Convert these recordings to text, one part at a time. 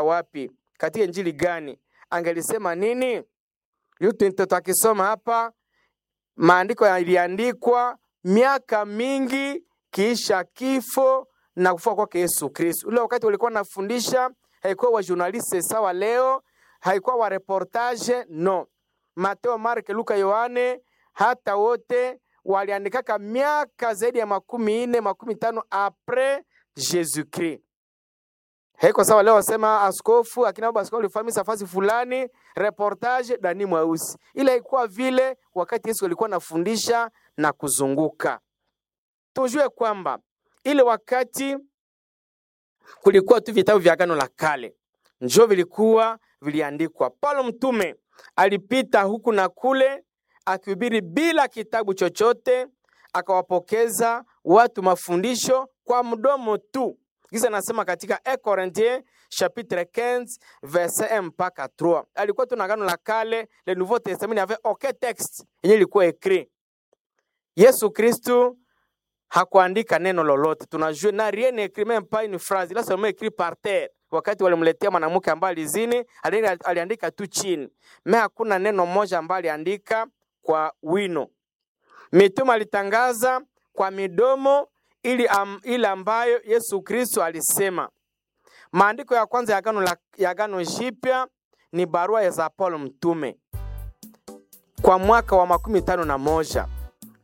Wapi? Katika injili gani? Angelisema nini? Yote tutakisoma hapa. Maandiko yaliandikwa miaka mingi kisha kifo na kufa kwake Yesu Kristo. Ule wakati walikuwa nafundisha, haikuwa wa journaliste sawa leo, haikuwa wa reportage no. Mateo, Marko, Luka, Yohane, hata wote waliandikaka miaka zaidi ya 40, 50 apres Jésus Christ. Haiko sawa leo wasema askofu akina baba askofu alifanya fasi fulani reportage Dani Mweusi. Ile haikuwa vile wakati Yesu alikuwa anafundisha na kuzunguka. Tujue kwamba ile wakati kulikuwa tu vitabu vya Agano la Kale njo vilikuwa viliandikwa. Paulo mtume alipita huku na kule akihubiri bila kitabu chochote, akawapokeza watu mafundisho kwa mdomo tu. Kisa nasema katika 1 Corinthiens chapitre 15 verset 1 mpaka 3. Alikuwa tu na Agano la Kale, le Nouveau Testament n'avait aucun texte yenye ilikuwa écrit. Yesu Kristu hakuandika neno lolote, tunajua na rien n'est écrit, même pas une phrase, il a seulement écrit par terre. Wakati walimletea mwanamke ambaye alizini, aliandika tu chini, me hakuna neno moja ambaye aliandika kwa wino. Mitume alitangaza kwa midomo ili ile ambayo Yesu Kristo alisema. Maandiko ya kwanza ya Agano Jipya ni barua za Paulo mtume kwa mwaka wa 51.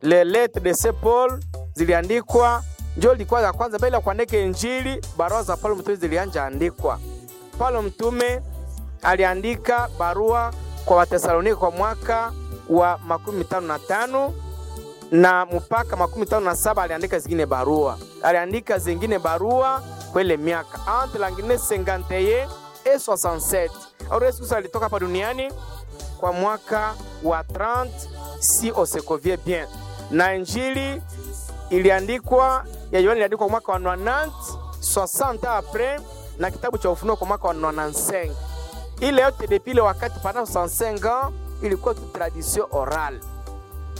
Les lettres de Saint Paul ziliandikwa, njo ilikuwa ya kwanza bila kuandika Injili. Barua za Paulo mtume zilianja andikwa. Paulo mtume aliandika barua kwa Watesalonike kwa mwaka wa 55 na mpaka 57 aliandika zingine barua, aliandika zingine barua kwele miaka entre l'année 51 et 67. Alors Yesu Kristo alitoka hapa duniani kwa mwaka wa 30 si on se convient bien, na injili iliandikwa ya Yohana iliandikwa mwaka wa 90 60 après, na kitabu cha Ufunuo kwa mwaka wa 95. Ile yote depuis ile wakati pendant 65 ans ilikuwa tu tradition orale.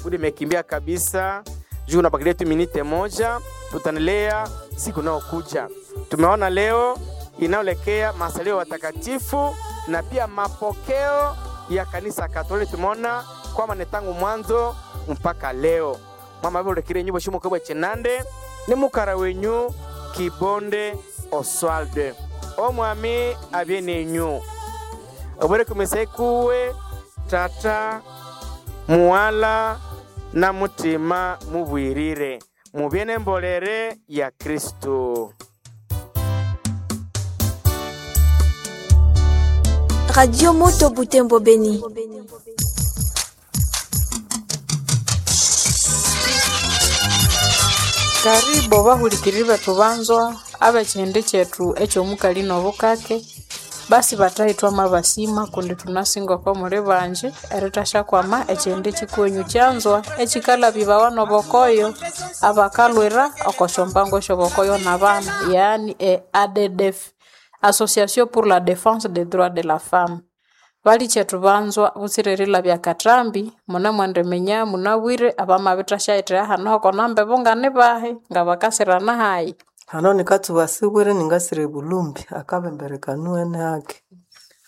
Budi imekimbia kabisa juu nabakilia tu minute moja, tutaendelea siku inayokuja. Tumeona leo inayoelekea masalio watakatifu na pia mapokeo ya kanisa Katoliki. Tumeona kwamba ni tangu mwanzo mpaka leo. Mama bolekire nyumba shimo kubwa chenande ni mukara wenyu Kibonde Oswald omwami abyenenyu obwere kumisekuwe tata muwala na mutima mubwirire mubye nembolere ya Kristo. Radio Moto Butembo Beni. Karibu bahulikiriri bethu banzwa ab'ekihindi kyethu eky'omukali n'obukake basi bathahithwa mabasima kundi thunasinga oko muli banji erithasyakwama ekihindi kikwenyu kyanzwa ekikalhabibawa n'obokoyo abakalhwira oko syombango esyobokoyo n'abana yaani e ADDF, Association pour la Défense des Droits de la Femme. Balikyetu banzwa butsira erilabya akathambi munemwendiminya munabwire abamabithasyayithegha hanu hoko nambebo nganibahi ngabakasirana hayi. Hano nikatsuba sibwire ningasira ebulumbi akabembere kanuwene hake.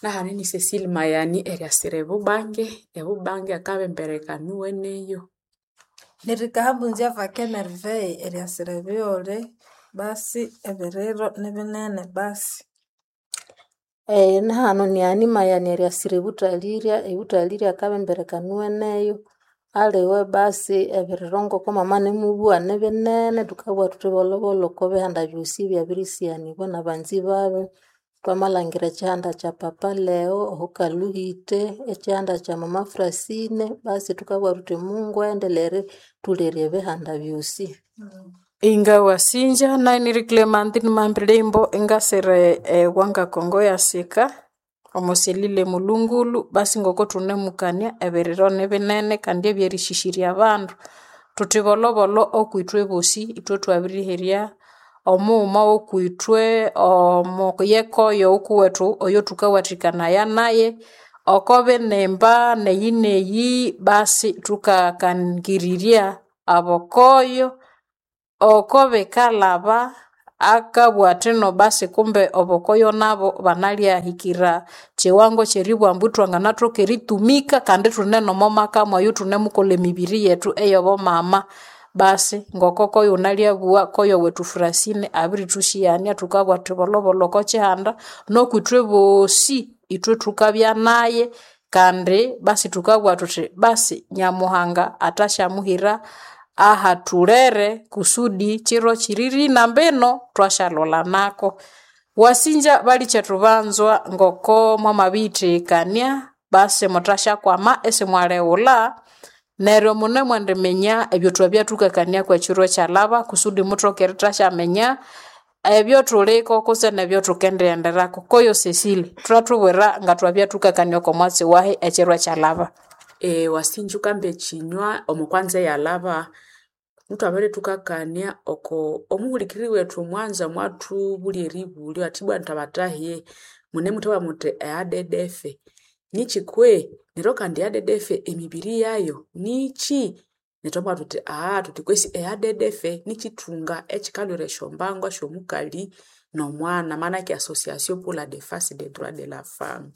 Nahano ni Cecile Mayani eriasira ebubange, ebubange akabembere kanuweneyo. Nirikahambunzya vake Merveille eriasira ebighole basi ebiriro nibinene basi. Nahano ni Mayani eriasira ebuthalirya, ebuthalirya akabembere kanuweneyo aliwe basi ebiriro ngoko mama nimubugha nibinene thukabugha thuthi bolhobolho oko bihanda byosi byabirisianibwa nabanzi babi. Twamalhangira ekihanda kya Papa Leo ohukaluhite, ekihanda kya mama Francine basi thukabugha thuthi Mungu aendelere erithulerya ebihanda byosi. Ingawasinja nainiri Clementine Mambilimbo ingasira ewanga Kongo yasika omusilile mulungulu basi ngoko thunemukania ebiriro nibinene kandi ebyerishisirya abandu. Thuthi bolhobolho okwithwe bosi ithwe thwabiriherya omughuma wokwithwe omuyekoyo okuwethu oyothukawathikanaya naye oko binimba neyi neyi basi thukakangirirya abokoyo oko bikalhaba. Akabugha athino basi kumbe obokoyo nabo banalyahikira kiwango kyeribugha ambu thwanganathoka eritumika kandi ithune nomo maka mwayo ithunemukolha emibiri yethu eyobomama. Basi ngoko koyo nalyabugha koyo wethu Francine abirithusyighania thukabugha thuthi bolhobolho oko kihanda nokwithwe bosi ithwe thukabya naye kandi basi thukabugha thuthi basi Nyamuhanga athasyamuhira ahathulere kusudi kiro kiririna mbino thwasyalholanako. Wasinja balikyetu banzwa ngoko mwamabiyithikania basi muthasyakwama isimwalighulha neryo mune mwendiminya ebyothwabya thukakania kwekiro ekyalhaba kusudi muthoke erithasyaminya ebyothuliko kutse nebyothukendiyenderaku. Koyo Cecile, thuthathubwira ngathwabya thukakania oko mwatsi wahi ekiro ekyalhaba. Wasinja wukamba ekinywa omukwanza eyalhaba muthwabere thukakania oko omuhulikiriri wethu omwanza mwathubulya eribulyo athi ibwa indi munemuthabugha muthi eADDF nikyi kwe? Neryo kandi eADDF emibiri yayo nikyi? Neryo thwamubwira thuthi thuthi kwesi eADDF nikyithunga ekyikalhwira esyombango syomukali nomwana manake association pour la defense des droits de la femme.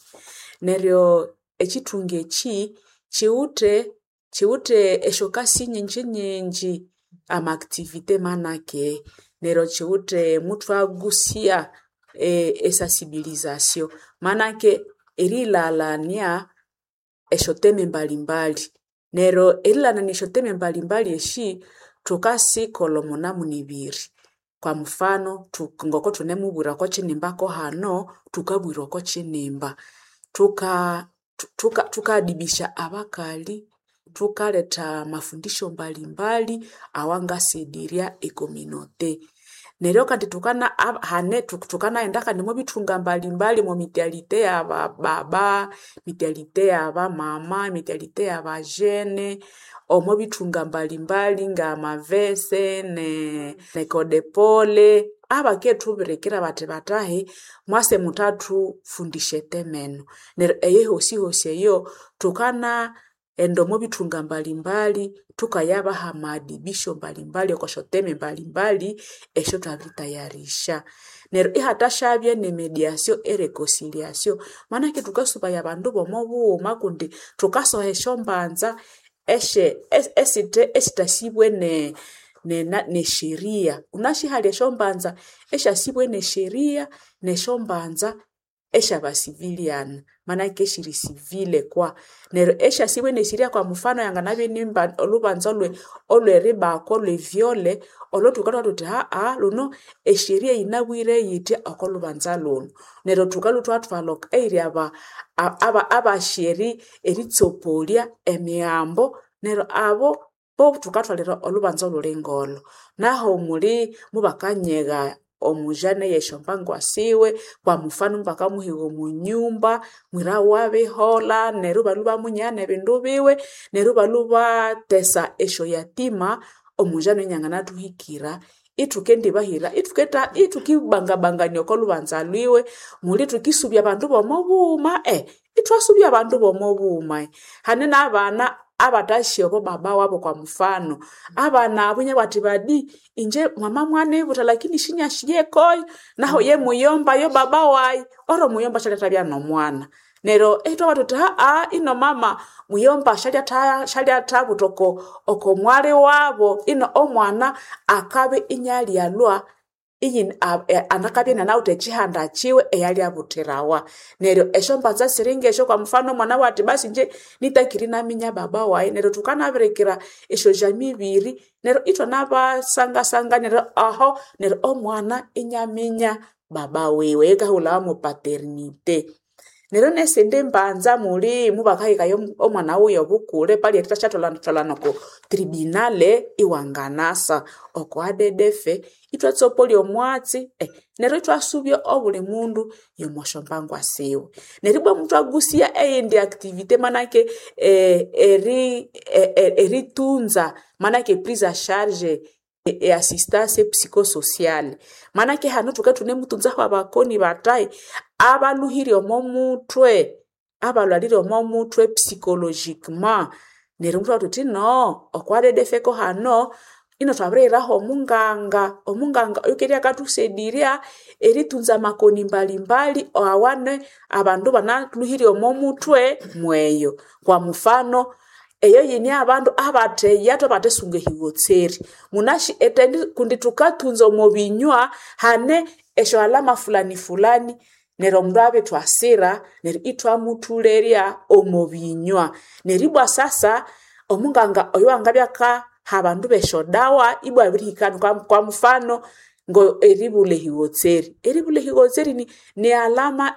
Neryo ekyithunga ekyi kyiwithe esyokasi nyingi nyingi ama activité manake neryo kyiwithe muthwagusiya esensibilisation manake erilhalania esyoteme mbalimbali. Neryo erilhalania esyoteme mbalimbali esi thukasikolha omo namuna ibiri. Kwa mufano ngoko thunemubwira oko kyinimba kohano thukabwira oko kyinimba. Thukadibisha abakali, thukaletha amafundisho mbalimbali awangasedirya ecommunauté. Neryo kandi thukanaghenda kandi omo bithunga mbalimbali omo mutualité yabababa, mutualité yabamama, mutualité yabajene, omo bithunga mbalimbali ngamavese nekodepole abakethubirikira bathi bathahi mwase muthathufundisya eteme eno. Neryo eyo yosiyosi eyo thukanaghenda omo bithunga mbalimbali thukayabaha amadibisho mbalimbali oko syoteme mbalimbali esyathwabiritayarisha. Neryo ihathasyabya ne mediation e reconciliation manake thukasubaya abandu bomo bughuma kundi thukasoha esyombanza esithasibwe nesheria. Wunasi hali esyombanza esyasibwe nesheria nesyombanza esyaba civilian manake esiri civile kwa. Neryo esyasibwe nesheria kwa mufano yanganabya inimba olhubanza olweribakwa olwe vyole olho thukalhwa thuthi lhuno esheria yinabwire yithya oko lhubanza lhunu. Neryo thukalhwa ithwathwalha eyiri abasya eritsopoliya emighambo neryo abo bo thukathwalira olhubanza olhuli ngolho. Naho muli mubakanyigha omujane eyesyombango siwe kwa mufano mubakamuhiga omo nyumba mwira wabiholha neryo ibalhwa ibamunyiha nebindu biwe neryo ibalhwa ibathesa esyoyatima omujane inyanganathuhikira ithukendibahira ithukibangabangania oko lhubanza lwiwe muli thukisubya abandu bomo bughuma ithwasubya abandu bomo bughuma. Hane nabana abathasi obo baba wabo kwa mufano abana abo inabugha athi badi inje mwama mwanibutha lakini sinyasiyekoyo naho ye muyomba yo baba wayi oro muyomba syalyathabya nomwana. Neryo ithwabugha thuthi ino mama muyomba syalyathabutha oko mwali wabo ino omwana akabya inyalyalhwa anakabya inanawithe ekyihanda kyiwe eyalyabuthirawa. Neryo esyombanza siri ngesyo kwa mufano omwana abugha athi basi inje nitakiri inaminya baba wayi neryo thukanabirikira esyojamii ibiri neryo ithwanabasangasangania neryo aho neryo omwana inyaminya baba wiwe eyikahulhawa mo paternité. Neryo nesindi mbanza muli mubakahikayo omwana wuyo obukule pali erithasyatholhatholana oko tribunale iwanganasa oko ADDF ithwatsopoliya omwatsi neryo ithwasubya obuli mundu yomosyombango siwe. Neryo ibwa muthwagusiya eyindi activité manake eritunza manake prise en charge e assistance psychosociale manake hanu thukabya ithunemutunzaho abakoni bathahi abalhuhire omo muthwe abalhwalire omo muthwe psychologiquement neryo muthwabugha thuthi no oko ADDF ko hano. Ino twabirihiraho omunganga, omunganga oyukerya akathusedirya eritunza amakoni mbalimbali awane abandu banalhuhirye omo muthwe mweyo. Kwa mufano, eyo yine abandu abatheya thwabathesunga ehiwotseri. Munasi etendi kundi thukatunza omo binywa hane esyo alama fulani fulani neryo omundu abirithwasira neryo ithwamuthulerya omo binywa. Neryo ibwa sasa omunganga oyo angabya akaha abandu besyo dawa ibwa abirihika kwa mufano ngo eribulha ehiwotseri. Eribulha ehiwotseri ni, ni alama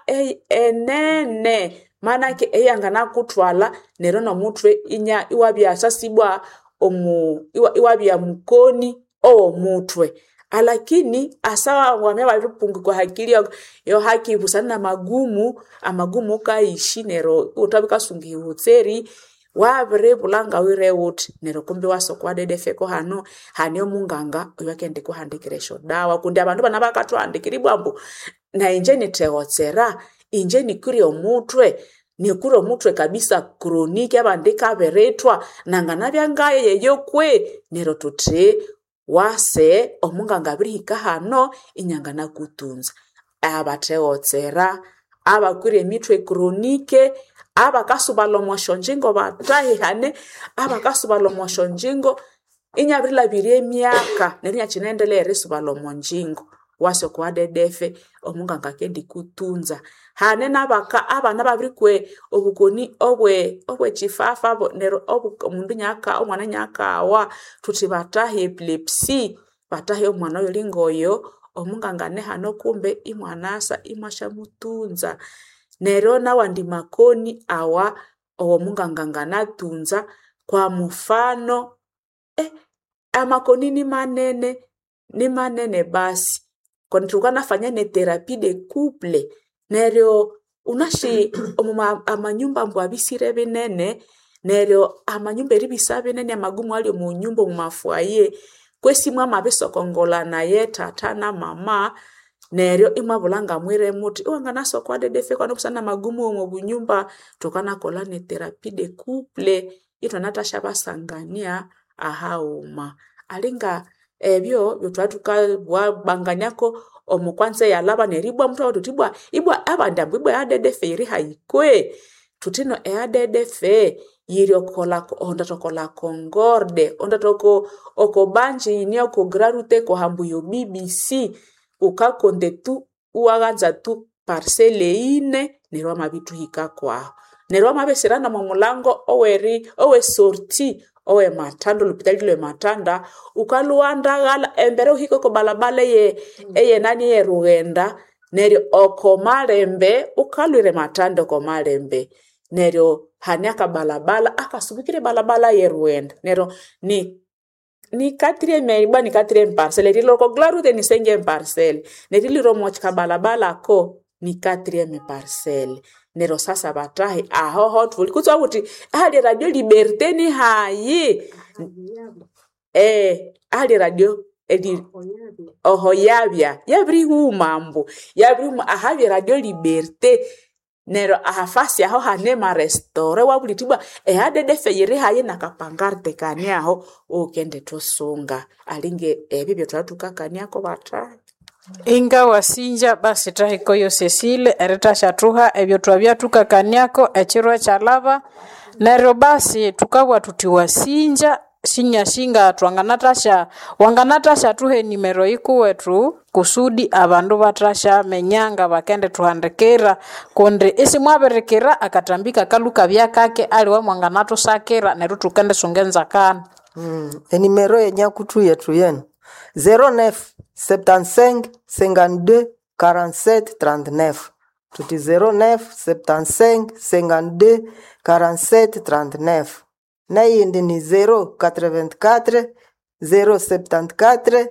enene manake eyanganakuthwalha neryo nomuthwe inya iwabya sasibwa omu iwabya mukoni owomuthwe. Alakini asawa wamabya wabiripungikwa hakili yo haki busana na magumu, amagumu wukayishi neryo iwuthabya wukasunga ehiwotseri wabiribulha ngawire wuthi neryo kumbi iwasa okwa dedefeko hano hane omunganga oyuakendikuhandikira esyo dawa kundi abandu bana bakathuhandikira ibwa ambu nayi nithewotsera, inje nikwire omuthwe, nikwire omuthwe kabisa chronic abandi ikabirithwa nanganabya ngayeyo kwe neryo thuthi wase omunganga abirihika hano inyanganakutunza. Abathewotsera, abakwire emithwe chronic, abakasubalha omo syonjingo bathahihane, abakasubalha omo syonjingo inyabirilhabirya emyaka neryo inyakyinaendelea erisubalha omo njingo. Wase okwa dedefe omunganga akendikutunza. Hane nabaka abana ababirikwa obukoni obwe obwekifafa neryo omundu inyaka omwana inyakawa thuthi bathahi epilepsy, bathahi omwana oyuli ngoyo omunganga anehano kumbe imwanasa imwasyamutunza. Neryo nawandi makoni awa owomunganga anganatunza kwa mufano amakoni nimanene, nimanene basi kundi thukanafanya ne therapy de couple neryo wunasi omu amanyumba ambu abisire binene neryo amanyumba eribisa binene amagumu ali omu nyumba omu mafoyer kwesi mwamabisokongolana thatha na mama neryo imwabulha ngamwire muthi iwanganasa okwa dedefe kwanu busana amagumu omo bunyumba thukanakolha ne therapy de couple ithwanathasya basangania ahaghuma. Alinga ebyo byethwabya thukabwanganiako omu kwanza eyalhaba neryo ibwa muthwabugha thuthi ibwa ibwa abandi ambu ibwa eyadedefe yiri hayi kwe? Thuthi ino eyadedefe yiri okola ondatha la Concorde, ondatha oko oko banji yine oko Grand Route eko hambu yo BBC wukakonde tu iwaghanza tu parcelle ine neryo wamabithuhika kwahu. Neryo wamabisira nomo mulango oweri owe sortie owe Matanda olhupitali lwe Matanda wukalhuwandaghalha embere wuhike oko balabala eye eyenani eyerughenda neryo oko malembe wukalhwira ematanda oko malembe neryo hane akabalabala akasubikira ebalabala yerughenda neryo ni ni quatrième ibwa ni quatrième parcelle erilwa oko Grand Route ni cinquième parcelle nerilwira omo kabalabala ako ni quatrième parcelle neryo sasa bathahi ahoho thuli kutse wuthi ahali radio Liberté ni hayi ahali radio eri oho yabya yabirihuma ambu yabirihuma ahabya radio Liberté neryo ahafasi aho hane marestaurant wabulitha ibwa ehadedefe yiri hayi nakapangarte kane aho wukendithusunga alinga ebyo byethwabya thukakaniako bathahi. Inga wasinja basi thahikoyo Cecile erithashathuha ebyo twabya thukakaniako ekiro ekyalhaba neryo basi thukabugha thuthi wasinja sinyasinga twanganathasya wanganathasya enimero yikuwethu kusudi abandu bathasyaminya ngabakendithuhandikira kundi isimwabirikira akatambi kakalhu kabya kake aliwe mwanganathusakira neryo thukendisunga enzakana. Enimero yenyakuthu yethu yenu 09 75 52 47 39 tuti 09 75 52 47 39 neyindi ni 084 074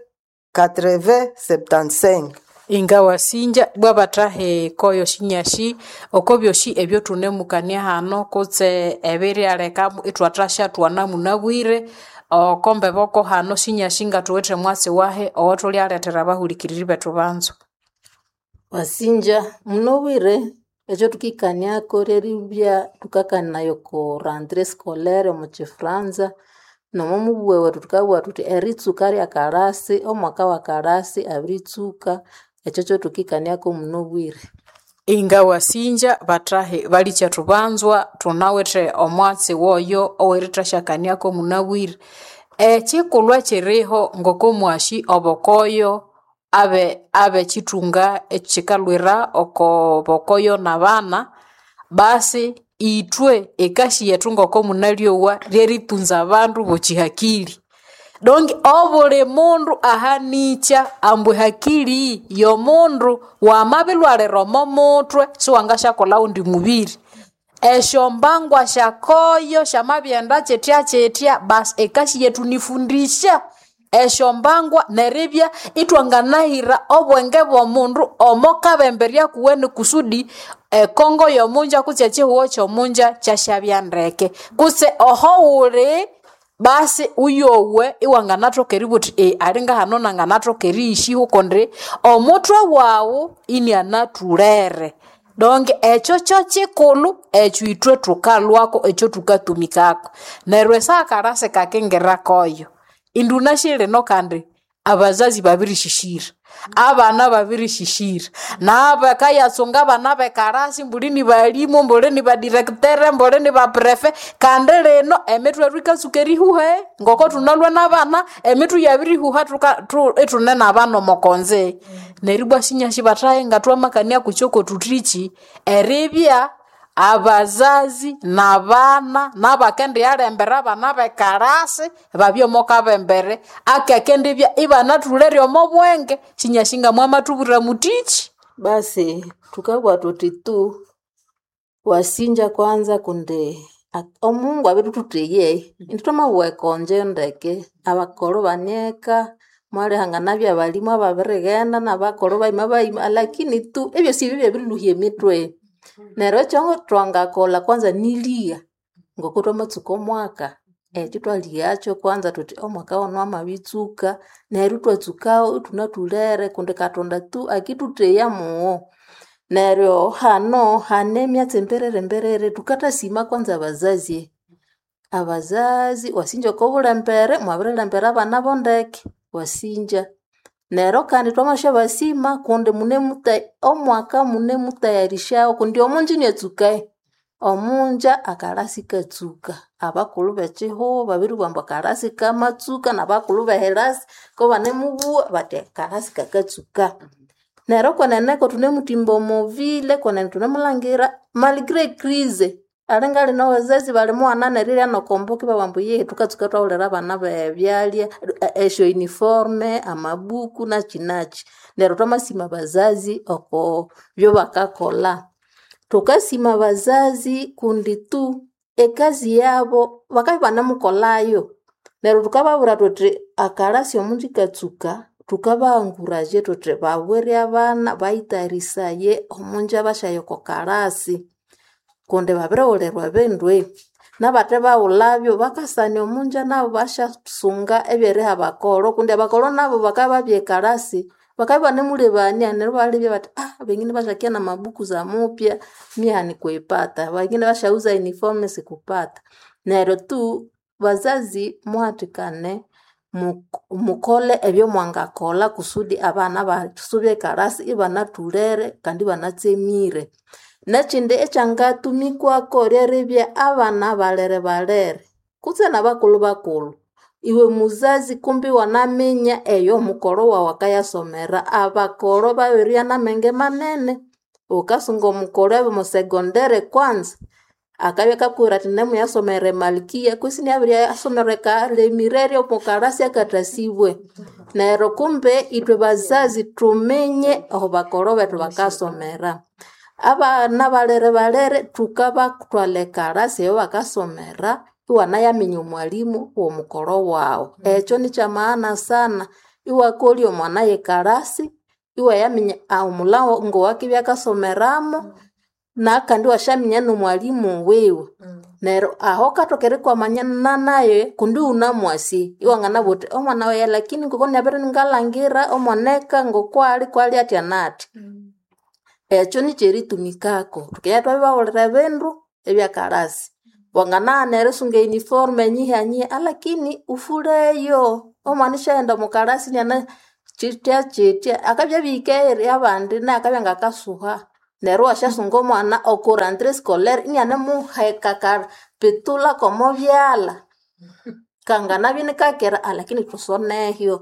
80 75 Inga wasinja ibwa bathahi koyo sinyashi oko byosi ebyothunamukania hano kutse ebiryaleka ithwathasya thwana munabwire oko mbeboko hano sinyashi ngathuwithe mwatsi wahi owathulyalethera abahulikiriri bethu banzo. Wasinja munobwire ekyo thukikaniako lyeribya thukakanaya oko rentrée scolaire omu kifranza. Nomo mubughe wethu thukabugha thuthi eritsuka lyakalasi, omwaka wakalasi abiritsuka, ekyo kyathukikaniako munobwire. Inga wasinja bathahi balikyetu banzwa thunawithe omwatsi woyo owerithasyakaniako munabwire. Ekikulhu ekyiriho ngoko mwasi obukoyo abe abekyithunga ekyikalhwira oko bukoyo nabana, basi ithwe ekasi yethu ngoko munalyowa ryeritunza abandu bokyihakili. Donki obuli mundu ahanikya ambu ehakili yomundu wamabilhwalira omo muthwe siwangasyakolha ghundi mubiri. Esyombangwa syakoyo syamabighenda kyithya-kyithya basi ekasi yethu nifundisya esyombangwa neribya ithwanganahira obwenge bw'omundu omo kabemberya kuwene kusudi ekongo y'omunja kutse ekihugho ky'omunja kyasyabya ndeke. Kutse oho wuli basi uyowe iwanganathoka eribugha uthi alinga hano nanganathoka eriyishiho kundi omuthwe waghu inianathulere. Donki ekyo kyokikulhu ekyo ithwe thukalhwako ekyo thukatumikako. Neryo esakalasi kakingira koyo, indi wunasi lino kandi abazazi babirishishira, abana babirishishira, nabakayatsunga abana bekarasi mbuli ni balimu, mbuli ni badirectere, mbuli ni baprefe, kandi lino emithwe yetu yikatsuka erihuha ngoko thunalhwa nabana emithwe yabirihuha ithune nabana omo konze. Neryo ibwa sinyasi bathahi ngathwamakania kukyoko thuthiki eribya abazazi nabana nabakendiyalembera abana bekarasi babye omo kabembere akakendibya ibanathulere omo bwenge sinyasi ngamwamathubwira muthiki. Basi thukabugha thuthi tu wasinja kwanza kundi omungu abirithuthiye indi thwamabugha ekonje ndeke abakolho banieka mwalihanganabya abalimu ababirighenda nabakolho bayima bayima lakini tu ebyosi ebi byabirilhuhya emithwe. Neryo ekyo thwangakolha kwanza niligha ngoko thwamatsuka omwaka ekyo thwalighakyo kwanza thuthi omwaka wano wamabitsuka neryo ithwatsukawo ithunathulere kundi Katonda tu akithutheya mugho. Neryo hano hane emyatsi emberere mberere thukathasima kwanza abazazi. Abazazi wasinja oko bulembere mwabirilembera abana bo ndeke wasinja. Neryo kandi thwamasyabasima kundi omwaka munemutayarisyawo kundi omunja iniatsuka, omunja akalasi ikatsuka. Abakulhu b'ekihugho babiribugha ambu akalasi kamatsuka n'abakulhu b'ehirasi kobanemubugha bathi akalasi kakatsuka. Neryo kwenene thunemuthimba omo ville kwenene thunemulhangira malgré ecrise alinga lino abazazi balimughana nerirya nokomboka ibabugha ambu yehe thukatsuka ithwawulira abana bebyalya esyo uniforme, amabuku nakyi nakyi. Neryo thwamasima abazazi oko byobakakolha. Thukasima abazazi kundi tu ekazi yabo bakabya ibanemukolhayo. Neryo thukababwira thuthi akalasi omunja ikatsuka thukabahanguraje thuthi babwire abana bayitayarisaye omunja basyaya oko kalasi kundi babirighulirwa ebindu. Nabathe baghulhabyo bakasania omunja nabo basyasunga ebyeriha abakolho kundi abakolho nabo bakabya babya ekalasi bakabya ibanemulebania neryo ibalebya bathi bengine basyakiya namabuku zamupya mie hanikuipata, bengine basyaghuza uniform sikupata. Neryo tu bazazi muhathikane mukole ebyomwangakolha kusudi abana basube ekalasi ibanathulere kandi ibanatsemire. Nekyindi ekyangatumikwaku lyeribya abana balere balere kutse nabakulhu bakulhu. Iwe muzazi kumbi iwanaminya eyo omukolho wawu akayasomera. Abakolho babiribya namenge manene. Wukasunga omukolho abye omo secondary kwanza akabya akakubwira athi nemuyasomera emalkia kwisi inabiriyasomera ekalemireryo omo kalasi akathasibwe. Neryo kumbe ithwe bazazi thuminye aho bakolho bethu bakasomera. Abana balere balere thukabathwalha ekalasi eyabakasomera iwanayaminya omwalimu womukolho waghu. Ekyo nikyamaana sana iwakolya omwana yekalasi iwayaminya omulhango owakibya akasomeramu nakandi iwasyaminya nomwalimu wiwe. Neryo aho wukathoka erikwamana naye kundi iwunamwasi iwanganabugha wuthi omwana wayi lakini ngoko nabere ingalhangira omwaneka ngokwali kwali athya nathya. Ekyo nikyeritumikako. Thukibya ithwabiribawulira ebindu ebyakalasi. Wanganaghana erisunga uniform enyihe nyihe alakini ufuleyo omwana isyaghenda omukalasi iniana kyitya kyitya akabya abihike abandi naye akabya ngakasuha neryo iwasyasunga omwana oko rentrée scolaire inianemuheka akapitula komo byalha kanganabya inikakera alakini thusonehyo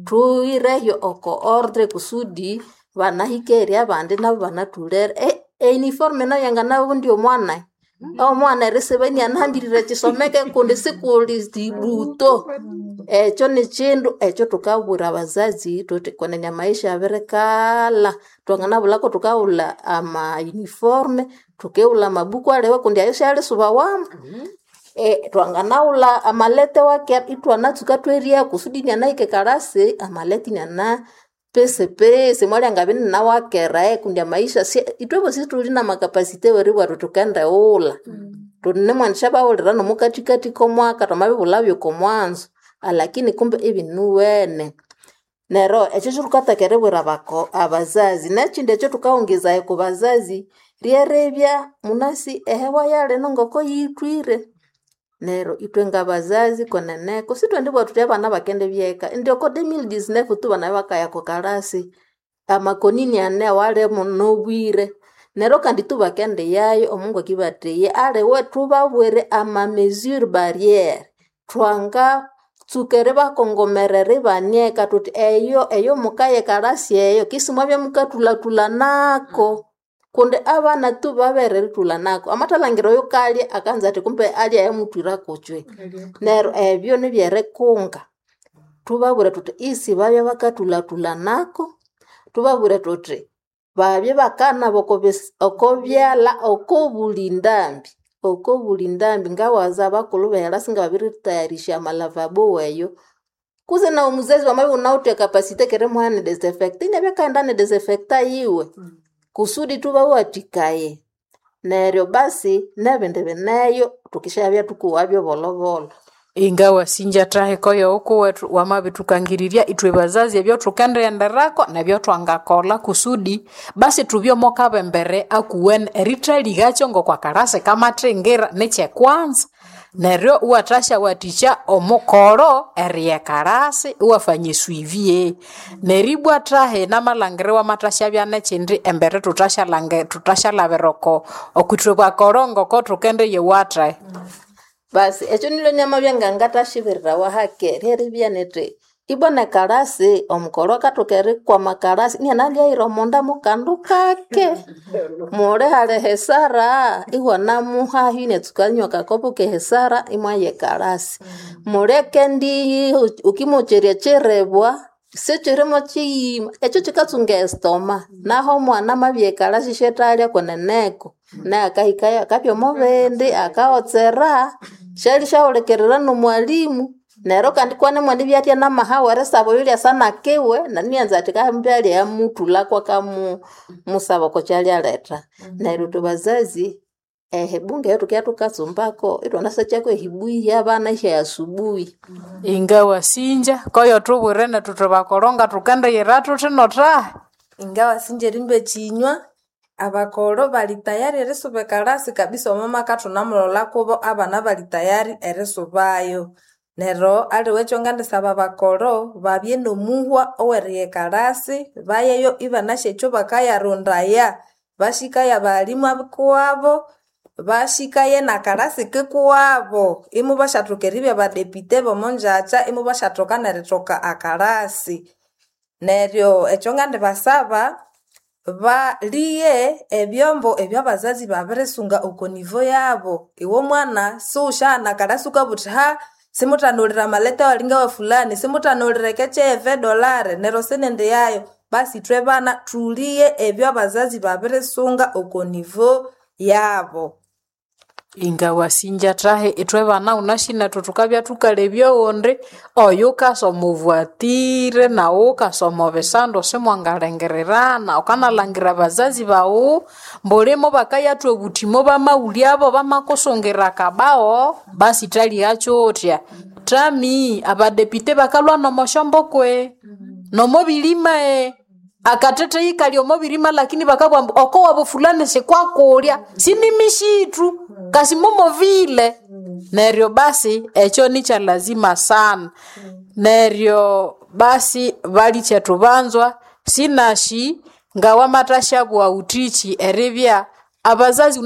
thuhirehyo oko ordre kusudi banahike abandi nabo banathulere. Euniform nayo yanganabundya omwana omwana erisiba inianahambirire ekisomeke kundi sikuli libuto. Ekyo nikyindu ekyo thukabwira abazazi thuthi kwenene amaisha abirikalha twanganabulhako thukaghulha ama uniform thukighulha amabuku aliwe kundi ayo syalisubawamu. Twanganaghulha amalete wakera ithwanatsuka thweria kusudi inianahika ekalasi amalete iniana pesipesi mwalyangabya ininawakera kundi amaisha ithwebosi sithuli namakapasite weribugha thuthi thukendighulha. Thunemwandisyabaghulira nomukathikathi komwaka thwamabibulhabyo okomwanzo alakini kumbe ibinuwene. Neryo ekyo kyathukataka eribwira abazazi. Nekyindi ekyathukawongezaya oko bazazi lyeribya munasi ehewa yalino ngoko yithwire. Neryo ithwe ngabazazi kweneneko sithwendibugha thuthi abana bakendibya eka indi oko 2019 tu bana bakaya oko kalasi amakonini ane awalimu nobwire. Neryo kandi tu bakendiyayo omungu akibatheya aliwe thubabwire ama mesure barriere thwangatsuka eribakongomerera ibanieka thuthi eyo eyo mukaya ekalasi eyo kisi mwabya mukathulhathulanako kundi abana tu babere erithulanako amathalhangira oyukalya akanza athi kumbe alya ayamuthwira kutswe. Neryo ebyo nibyerikunga thubabwire thuthi isi babya bakathulhathulanako thubabwire thuthi babye bakanaba oko byalha okobuli ndambi okobuli ndambi ngawaza abakulhu behelasi ngababiritayarisya amalavabo weyo kuze nawu muzazi wamabya iwunawithe ekapasite kerimuha ne disinfecta inabya akaghenda ne disinfecta yiwe kusudi thubawathikaye. Neryo basi nebindi bineyo thukisyabya thukuwabyo bolhobolho. Ingawasinja thahiko yokuwethu wamabithukangirirya ithwe bazazi ebyothukendighenderako nebyotwangakolha kusudi basi thubye omo kabembere akuwene erithalikakyo ngokwakalasi kamathingira nikyekwanza neryo iwathasyawathikya omukoro eriya ekalasi iwafanya esuivi neribwa thahi namalhangira iwamathasyabya nekyindi embere thuthasyalhabira oko okwithwe bakoro ngoko thukendiyiwatha. Basi ekyo nilyo nyamabya ngangathasyibirirawa hake lyeribya nithi ibwa nekalasi omukoro akathoka erikwama kalasi inianalyaghira omunda mukandu kake muli hali hesara iwanamuhayo iniatsuka anywa akakopo kehesara imwaya ekalasi. Muli ekendi ukimocherya ekyiribwa sikyirimo kyiyima ekyo kyikatsunga estoma naho omwana amabya ekalasi isyathalya kweneneko naye akahikayo akabya omubindi akawotsera syalishawulikirira nomwalimu. Neryo kandi kwane mwandibya athya namahawa erisaba oyo lyasa nakiwe nanianza athi kambi alyamuthulako akamusaba oko kyalyaletha. Neryo ithwe bazazi ehibunga eyathukibya thukatsumbako ithwanasakyako ehibuyi yabana ihyaya asubuhi. Ingawasinja koyo thubwire nethu thwe bakoro ngathukendiyira thuthi nothahi. Ingawasinja erimba ekyinywa abakoro bali tayari erisuba ekalasi kabisa omwamaka thunamulhola kubo abana bali tayari erisubayo. Neryo aliwe ekyo ngandisaba abakoro babye nomuhwa oweriya ekalasi bayeyo ibanasi ekyo bakayarondaya bashikaye abalimu abikuwabo bashikaye nakalasi kikuwabo imubasyathoka eribya badepite bomonjakya imubasyathoka nerithoka akalasi. Neryo ekyo ngandibasaba baliye ebyombo ebyabazazi babirisunga oko nivo yabo. Iwe omwana siwusyaghana akalasi wukabugha wuthi ha simuthanulire amalete awalinga wa fulani simuthanulire ekeche dolare neryo sinendiyayo. Basi ithwe bana thuliye ebyabazazi babirisunga oko nivo yabo. Ingawasinja thahi ithwe bana wunasi nethu thukabya thukalebya oghundi oyukasoma ovuatire nawu wukasoma obisandu simwangalengererana wukanalhangira abazazi baghu mbulimo bakayathwa obuthimo bamawulyabo bamakusungira akabao basi thalihakyothya. Thami abadepite bakalhwa nomosyombukwe nomobilima. Akateteyi kali omo birima, lakini bakabugha ambu oko wabo fulani sikwakulya sinimishithu kasimumovile. Neryo basi ekyo ni kya lazima sana. Neryo basi balikyetu banzwa, sinashi ngawamathashabugha wuthikyi eribya abazazi.